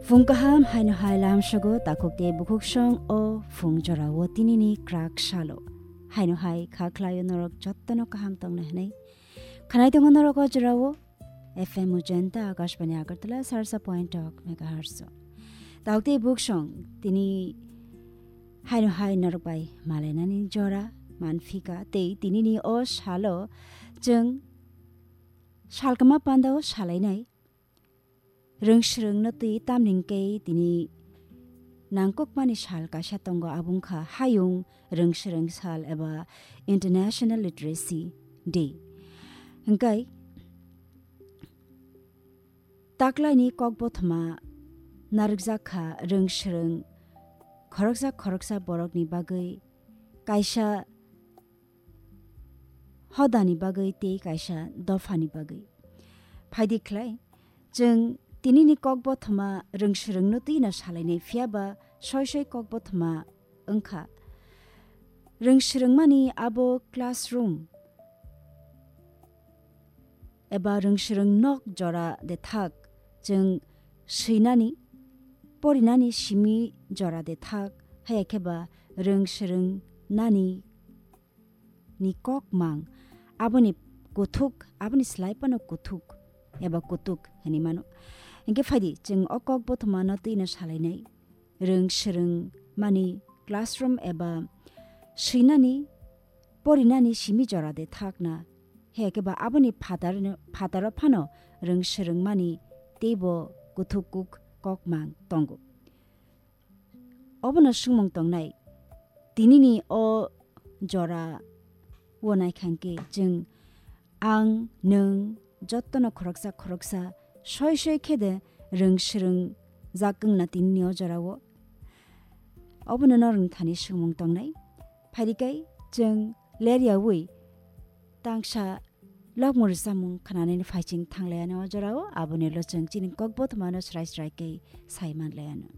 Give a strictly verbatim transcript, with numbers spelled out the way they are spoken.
Phung kaham, haino hai lamsogo takhuk tei bukhuk song o phung jorao tinini krak salo. Haino hai kha khlaio norok jottono kaham tongnai hwnwi. Khanai tongo norok o jorao F M Ujanta Akashbani Agartala sarsa point tok megahertz o. Takhuk tei bukhuk song tini haino hai norok bai malainani jora manphika tei tinini o salo chwng salkama pandao salainai. Rwngswrwngno twi tamni hwnkhe tini nangkukmani sal kaisa tongo, abo wngkha Hayung Rwngswrwng Sal eba International Literacy Day. Hwnkhe taklaini kokbothoma narwkjak kha rwngswrwng khoroksa khoroksa borokni bagwi, kaisa hodani bagwi tei kaisa dophani bagwi. Phaidi khlai, chwng tinini kokbothoma rwngswrwngno twino salainai, phiyaba soi soi kokbothoma wngkha. Rwngswrwngmani abo classroom eba rwngswrwng nok jora de thak, chwng swinani, porinani simi jora de thak, haya khe ba rwngswrwng nani ni kok mang, aboni kuthuk, aboni slai phano kuthuk eba kutuk hwnwi mano. Hwnkhe phaidi, chwng o kokbothomano twino salainai. Rwngswrwng mani classroom eba swinani, porinani simi jora de thakna. Haya khe ba aboni phatar, phataro phano rwngswrwng mani teibo kuthuk kuk kok mang tongo. Obono swngmung tongnai, tinini o jora o naikha hwnkhe chwng, ang, nwng jottono khoroksa khoroksa soi soi khe de rwngswrwng jak wngna tinini o jorao. Obono norokni thani swngmung tongnai. Phaidi kai chwng leryaui tangsa lokmung rwchapmung khnanani phaiching thanglaiano o jorao, aboni ulo chwng chini kokbothomano srai srai khe sai manlaiano.